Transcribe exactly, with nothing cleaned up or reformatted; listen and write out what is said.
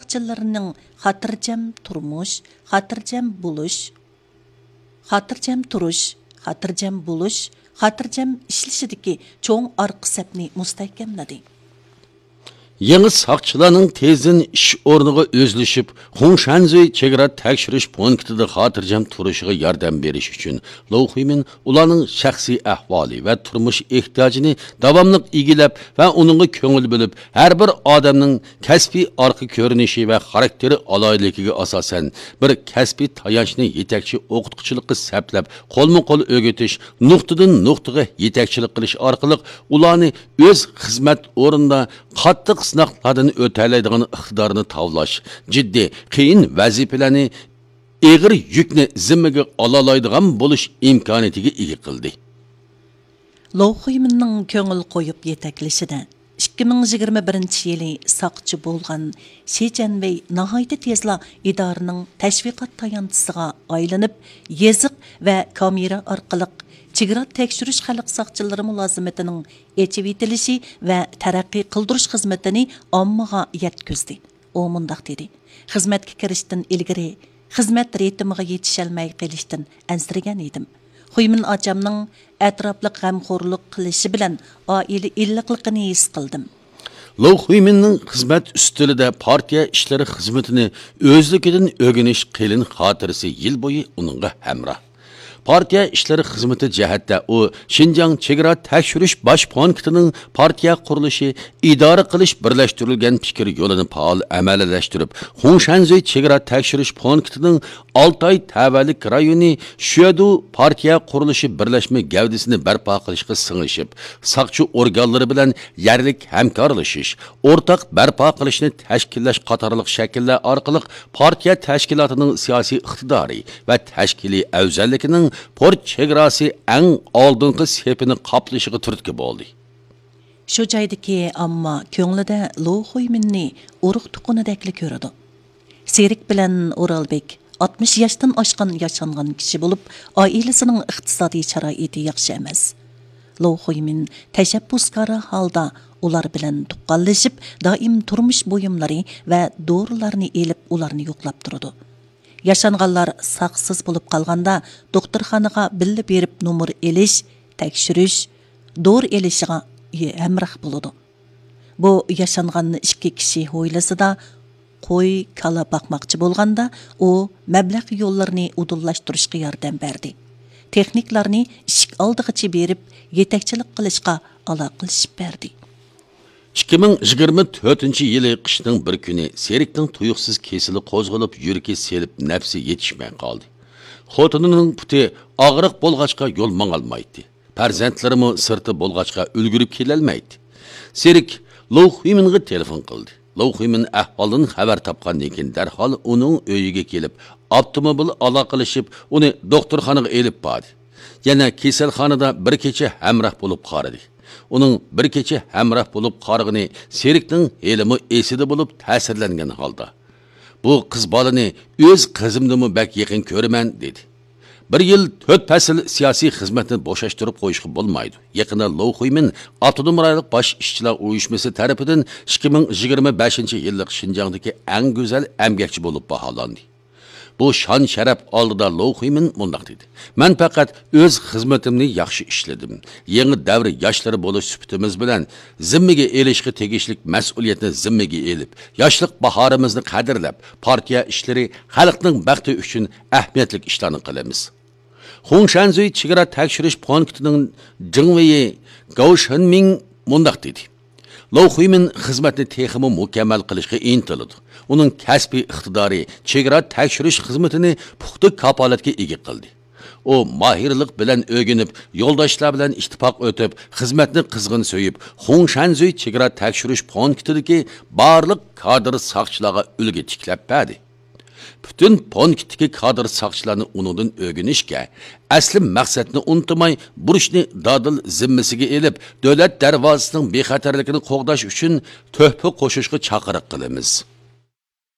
ساقچىلىرىنىڭ خاتىرجەم تۇرمۇش، خاتىرجەم بولۇش، خاتىرجەم تۇرۇش، خاتىرجەم بولۇش، خاتىرجەم ئىشلىشىدىكى چوڭ ئارقا سەپنى مۇستەھكەملىدى. يېڭى ساقچىلارنىڭ تېزدىن ئىش ئورنىغا ئۆزلىشىپ، خۇڭشەنزۈي چېگرا تەكشۈرۈش پونكىتىدا خاتىرجەم تۇرۇشىغا ياردەم بېرىش ئۈچۈن، لوۋ خۇيمىن ئۇلارنىڭ شەخسىي ئەھۋالى ۋە تۇرمۇش ئېھتىياجىنى داۋاملىق ئىگىلەپ ۋە ئۇنىڭغا كۆڭۈل بۆلۈپ، ھەر بىر ئادەمنىڭ كەسپىي ئارقا كۆرۈنۈشى ۋە خاراكتېرى ئالاھىدىلىكىگە ئاساسەن، بىر كەسپىي تايانچنى يېتەكچى ئوقۇتقۇچىلىققا سەپلەپ، قولمۇ قول ئۆگىتىش، نۇقتىدىن نۇقتىغا يېتەكچىلىك قىلىش ئارقىلىق ئۇلارنى ئۆز خىزمەت ئورنىدا قاتتىق سىناقلاردىن ئۆتەلەيدىغان ئىقتىدارنى تاۋلاش، جىددىي، قىيىن ۋەزىپىلەرنى، ئېغىر يۈكنى زىممىگە ئالالايدىغان بولۇش ئىمكانىيىتىگە ئىگە قىلدى. لوۋ خۇيمىننىڭ كۆڭۈل قويۇپ يېتەكلىشىدە، ئىككى مىڭ يىگىرمە بىرىنچى يىلى ساقچى بولغان شى جەنۋەي ناھايىتى تېزلا ئىدارىنىڭ تەشۋىقات تايانچىسىغا ئايلىنىپ، يېزىق ۋە كامېرا ئارقىلىق چېگرا تەكشۈرۈش خەلق ساقچىلىرى مۇلازىمىتىنىڭ ئېچىۋېتىلىشى ۋە تەرەققىي قىلدۇرۇش خىزمىتىنى ئاممىغا يەتكۈزدى. ئۇ مۇنداق دېدى: خىزمەتكە كىرىشتىن ئىلگىرى خىزمەت رىتىمىغا يېتىشەلمەي قېلىشتىن ئەنسىرىگەن ئىدىم. خۇيمىن ئاچامنىڭ ئەتراپلىق غەمخورلۇق قىلىشى بىلەن ئائىلە ئىللىقلىقىنى ھېس قىلدىم. لوۋ خۇيمىننىڭ خىزمەت ئۈستىلىدە پارتىيە ئىشلىرى خىزمىتىنى ئۆزلۈكىدىن ئۆگىنىش قېلىن خاتىرىسى يىل بويى ئۇنىڭغا ھەمراھ. پارتىيە ئىشلىرى خىزمىتى جەھەتتە ئۇ شىنجاڭ چېگرا تەكشۈرۈش باش پونكىتىنىڭ پارتىيە قۇرۇلۇشى، ئىدارە قىلىش بىرلەشتۈرۈلگەن پىكىر يولىنى پائال ئەمەلىيلەشتۈرۈپ، خۇڭشەنزۈي چېگرا تەكشۈرۈش پونكىتىنىڭ ئالتاي تەۋەلىك رايونى شۈەدۇ پارتىيە قۇرۇلۇشى بىرلەشمە گەۋدىسىنى بەرپا قىلىشقا سىڭىشىپ، ساقچى ئورگانلىرى بىلەن يەرلىك ھەمكارلىشىش، ئورتاق بەرپا قىلىشنى تەشكىللەش قاتارلىق شەكىللەر ئارقىلىق پارتىيە تەشكىلاتىنىڭ سىياسىي ئىقتىدارى ۋە تەشكىلىي ئەۋزەللىكىنىڭ پورت چېگراسى ئەڭ ئالدىنقى سېپىنى قاپلىشىغا تۈرتكە بولدى. شۇ جايدىكى ئامما كۆڭلىدە لو خۇيمىننى ئۇرۇق تۇغقىنىدەكلا كۆرىدۇ. سېرىك بىلەن ئورالبېك ئاتمىش ياشتىن ئاشقان ياشانغان كىشى بولۇپ، ئائىلىسىنىڭ ئىقتىسادىي شارائىتى ياخشى ئەمەس. لو خۇيمىن تەشەببۇسكارانە ھالدا ئۇلار بىلەن تۇغقانلىشىپ، دائىم تۇرمۇش بۇيۇملىرى ۋە دورىلارنى ئېلىپ، ئۇلارنى يوقلاپ تۇرىدۇ. ياشانغانلار ساقسىز بولۇپ قالغاندا، دوختۇرخانىغا بىللە بېرىپ نومۇر ئېلىش، تەكشۈرۈش، دورا ئېلىشىغا ھەمراھ بولىدۇ. بۇ ياشانغان ئىككى كىشى ھويلىسىدا قوي، كالا باقماقچى بولغاندا، ئۇ مەبلەغ يوللىرىنى ئۇدۇللاشتۇرۇشقا ياردەم بەردى. تېخنىكلارنى ئىشىك ئالدىغىچە بېرىپ، يېتەكچىلىك قىلىشقا ئالاقىلىشىپ بەردى. ئىككى مىڭ يىگىرمە تۆتىنچى يىلى قىشنىڭ بىر كۈنى سېرىكنىڭ تۇيۇقسىز كېسىلى قوزغىلىپ، يۈرىكى سېلىپ، نەپسى يېتىشمەي قالدى. خوتۇنىنىڭ پۇتى ئاغرىق بولغاچقا يول ماڭالمايتتى. پەرزەنتلىرىمۇ سىرتتا بولغاچقا ئۈلگۈرۈپ كېلەلمەيتتى. سېرىك لو خۇيمىنغا تېلېفون قىلدى. لو خۇيمىن ئەھۋالدىن خەۋەر تاپقاندىن كېيىن دەرھال ئۇنىڭ ئۆيىگە كېلىپ، ئاپتوموبىل ئالاقىلىشىپ، ئۇنى دوختۇرخانىغا ئېلىپ باردى. يەنە كېسەلخانىدا بىر كېچە ھەمراھ بولۇپ قارىدى. ئۇنىڭ بىر كېچە ھەمراھ بولۇپ قارىغىنى سېرىكنىڭ ھېلىمۇ ئېسىدە بولۇپ، تەسىرلەنگەن ھالدا، «بۇ قىز بالىنى ئۆز قىزىمدىنمۇ بەك يېقىن كۆرىمەن» دېدى. بىر يىل تۆت پەسىل سىياسىي خىزمەتنى بوشاشتۇرۇپ قويۇشقا بولمايدۇ. يېقىندا لو خۇيمىن ئاپتونوم رايونلۇق باش ئىشچىلار ئۇيۇشمىسى تەرىپىدىن ئىككى مىڭ يىگىرمە بەشىنچى يىللىق شىنجاڭدىكى ئەڭ گۈزەل ئەمگەكچى بولۇپ باھالاندى. بۇ شان-شەرەپ ئالدىدا لو خۇيمىن مۇنداق دېدى: «مەن پەقەت ئۆز خىزمىتىمنى ياخشى ئىشلىدىم. يېڭى دەۋر ياشلىرى بولۇش سۈپىتىمىز بىلەن زىممىگە ئېلىشقا تېگىشلىك مەسئۇلىيەتنى زىممىگە ئېلىپ، ياشلىق باھارىمىزنى قەدىرلەپ، پارتىيە ئىشلىرى، خەلقنىڭ بەختى ئۈچۈن ئەھمىيەتلىك ئىشلارنى قىلىمىز.» خۇڭشەنزۈي چېگرا تەكشۈرۈش پونكىتىنىڭ جېڭۋېيى گاۋ شېنمىڭ مۇنداق دېدى: «لو خۇيمىن خىزمەتنى تېخىمۇ مۇكەممەل قىلىشقا ئىنتىلىدۇ. ئۇنىڭ كەسپىي ئىقتىدارى چېگرا تەكشۈرۈش خىزمىتىنى پۇختا كاپالەتكە ئىگە قىلدى. ئۇ ماھىرلىق بىلەن ئۆگىنىپ، يولداشلار بىلەن ئىتتىپاق ئۆتۈپ، خىزمەتنى قىزغىن سۆيۈپ، خۇڭشەنزۈي چېگرا تەكشۈرۈش پونكىتىدىكى بارلىق كادىر ساقچىلارغا ئۈلگە تىكلەپ بەردى. پۈتۈن پونكىتتىكى كادىر ساقچىلارنى ئۇنىڭدىن ئۆگىنىشكە، ئەسلى مەقسەتنى ئۇنتۇماي، بۇرچنى دادىل زىممىسىگە ئېلىپ، دۆلەت دەرۋازىسىنىڭ بىخەتەرلىكىنى قوغداش ئۈچۈن تۆھپە قوشۇشقا چاقىرىق قىلىمىز.»